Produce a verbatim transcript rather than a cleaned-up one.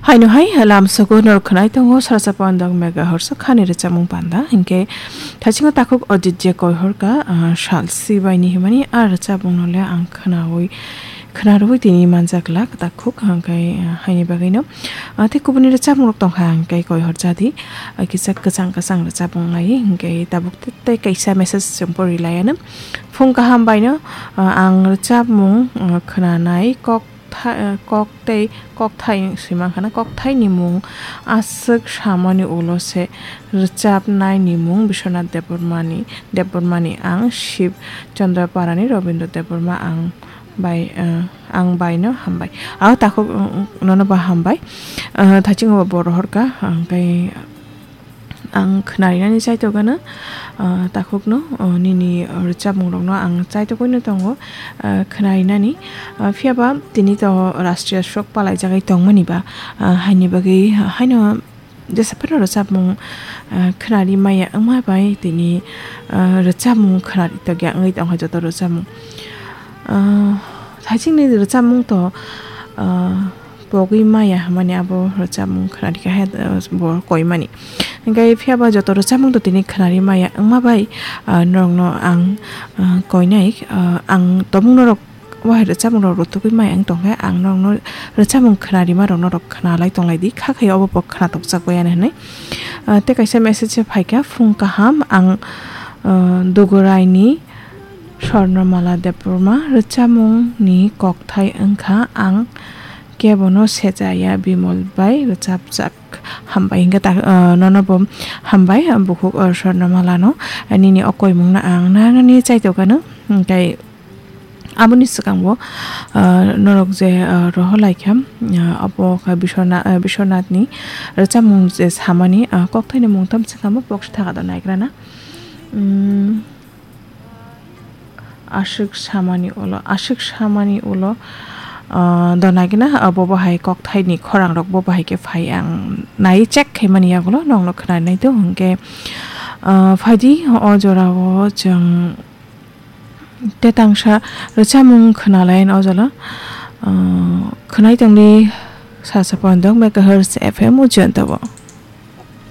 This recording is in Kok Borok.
Haino hai lamsogo norok khwnai tongo sarsa pandang megahertz khani rwchapmung panda, hinkhe thaisingo takhuk Ajit je koihorka, ah, sal sibaini himani a rwchapmungno le ang khwnawi, khwnarwi tini manjak glak takhuk, hinkhe, ah, haini bagwino, ah, tei kubuni rwchapmungrok tongkha, hinkhe koihor jadi, ah, kisa kwchang kwchang rwchapmung lai, hinkhe tabuk tei kaisa message chwng pori laiano. Phung kaham baino, ah, ang rwchapmung, ah, khwnanai kok tha-, kok tei kokthai swi mankha na, kokthaini mung aswk samani ulo se rwchapnaini mung Biswanath Debbarmani, Debbarmani ang Shib Chandra Parani Rabindra Debbarma ang bai, eh, ang baino hambai. Aro takhuk, eh, nono ba hambai. Eh, thaisingo bo rohorka, ang tei ang khwnarinani chaitokgano, ah, takhukno, ah, nini rwchapmungrokno ang chaitogwino tongo, ah, khwnarinani. Ah, phiyaba tini to Rashtriya Sok palaijagwi tongmani ba, ah, haini bagwi haino jesa phano rwchapmung, ah, khwnari maya wngma bai tini, ah, rwchapmung khwnari tokya wngwi tongkha joto rwchapmung. Ah, thaisingni rwchapmung to, ah, pogwi maya hwnmani abo rwchapmung khwnarikha hai, ah, bo koimani. Hinkhe phiyaba joto rwchapmung to tini khwnari maya wngma bai, ah, norokno ang, ah, koinai, ah, ang tongmung norok wahai rwchapmungrok rwtugwi maya wng tongkhe ang norokno rwchapmung khwnarimarok norok khwnalai tonglaidi, kha khe obo bo khwnatokjak bai ani hwnwi. Ah, tei kaisa message se phaikha, phung kaham ang, ah, Duguraini Swarnamala Debbarma rwchapmungni kokthai wngkha ang kebono sejaya Bimol bai rwchapjak. Hambai hinkhe ta, ah, nono bo hambai, ah, bukhuk, ah, Swarnamalano, ah, nini o koimungno ang nanani chaitokgano, hinkhe aboni swkango, ah, norok je, ah, rohor laikha, ah, obo kha Biswanath, ah, Biswanathni rwchapmung je samani, ah, kokthaini mung tamo swkangbo box thaka do naigrana. Hmm. Aswk samani ulo, aswk samani ulo, ah, donagina, ah, bo bahai kokthaini khorangrok bo bahai khe phai ang nai check khaimani yagulo nokno khwnanai do hinkhe, ah, phaidi o jorao chwng tetangsa rwchapmung khwnalayan o jala, ah, khwnai tongdi sasa pondok megahertz F M o jantabo.